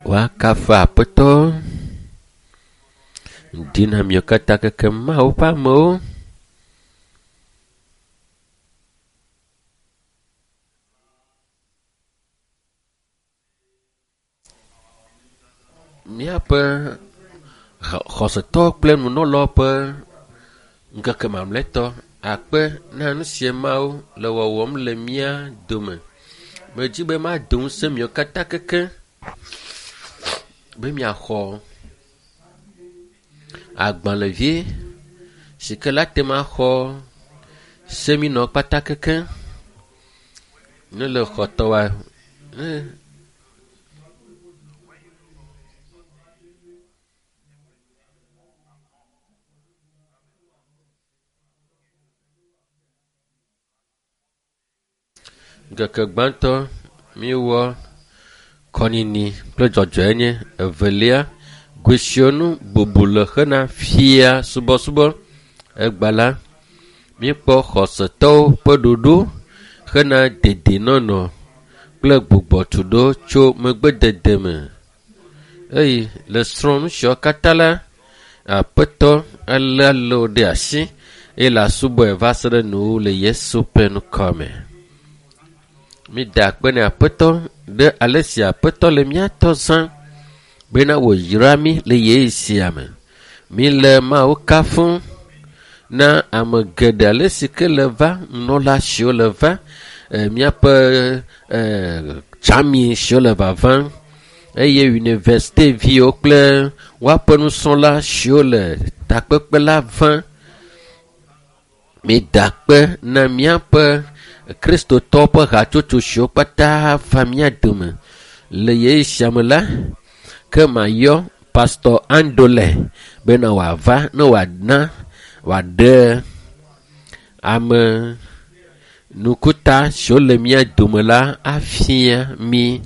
Woakafu Aƒetɔ. Ŋdi na miwo katã keke Mawu ƒe amewo. Míaƒe xɔsetɔ kple nunɔlawo ƒe ŋkeke mamlɛtɔ akpe na nu sie Mawu le wɔwɔm le mía dome. Medzi be mado ŋusẽ miwo katã keke be miaxɔ agbalẽvi si ke la te maxɔ seminɔ kpata keke ne le xɔtɔwa ne Ŋkeke gbãtɔ míewɔ kɔnyinyi kple dzɔdzɔenye. Evelia, goesionu bubu le hena fia subɔsubɔ. Egba la, míekpɔ xɔsetɔwo ƒe ɖoɖo hena dedienɔnɔ kple gbugbɔtuɖo tso megbedede me. Eye le srɔ̃ nu siawo katã la, Aƒetɔ alé alé wò ɖe asi eye le asubɔe va se ɖe nuwuwu le Yesu ƒe ŋkɔ me. Mída akpe ne Aƒetɔ ɖe ale si Aƒetɔ le mía tɔ zã bena wòyra mí le ɣeyiɣi sia me. Míle Mawu kafum na ame geɖe ale si ke le va, nunɔla siwo le va, míaƒe tsami siwo le vavam eye yunivɛsiteviwo kple woaƒe nusrɔ̃la siwo le takpekpe la vam. Mída akpe na míaƒe kristotɔwo ƒe hatsotso siwo katã va mía dome le ɣeyiɣi sia me la, ke mayɔ Pastor Andole bena wòava ne wòana wòaɖe ame nukuta siwo le mía dome la afia mí.